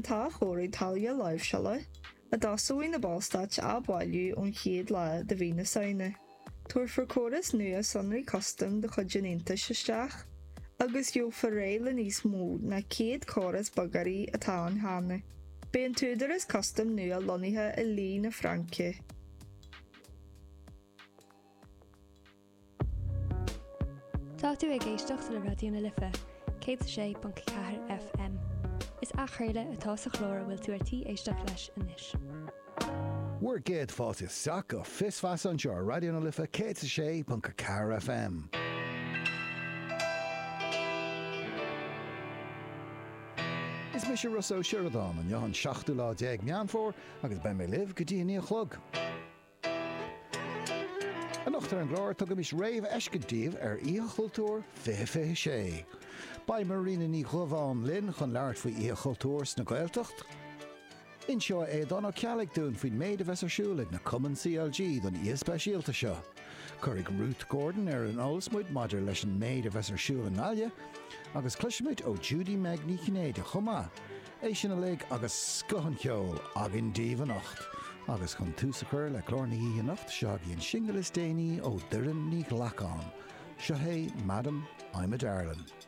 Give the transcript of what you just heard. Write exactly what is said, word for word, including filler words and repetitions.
t-athchóiriú táille láimhseála a dtosóidh na Ballstáit á bailiú ón chéad lá de mhí na Samhna. Tabharfar córas nua sonraí custaim de chuid an Aontais isteach agus gheofar réidh le níos mó ná céad córas bogearraí atá ann cheana. Beidh an t-údarás custaim nua lonnaithe i Lille na Fraince. Tá tú ag éisteacht le Raidió na Life, céad a sé ponc ceathair FM. Is athchraoladh atá sa chlár a bhfuil tú ar tí éisteacht leis anois. Bhur gcéad fáilte isteach go Fios Feasa anseo ar Raidió na Life céad a sé ponc a ceathair FM. Is mise Rossa Ó Sioradáin, inniu an seachtú lá déag Meán Fómhair agus beidh mé libh go dtí a naoi a chlog. Anocht ar an gclár, tugaimis réamhfheiscint daoibh ar Oíche Chultúir fiche fiche sé. Beidh Marina Ní Dhubháin linn chun labhairt faoi Oíche Chultúir sna Gaeltacht. Inseoidh Aodhán Ó Ceallaigh dúinn faoin méid a bheas ar siúl ag na Cumainn C L G don oíche speisialta seo. Cuirfidh Ruth Gordon ar an eolas muid maidir leis an méid a bheas ar siúl i nGaillimh agus cloisfimid ó Judy Meg Ní Chinnéide chomh maith. É sin uilig agus scoth an cheoil againn daoibh anocht. Agus chun tús a chur le clár na hoíche anocht, seo agaibh an singil is déanaí ó Doireann Ní Ghlacáin. Seo é Madam, I'm a Darlin'.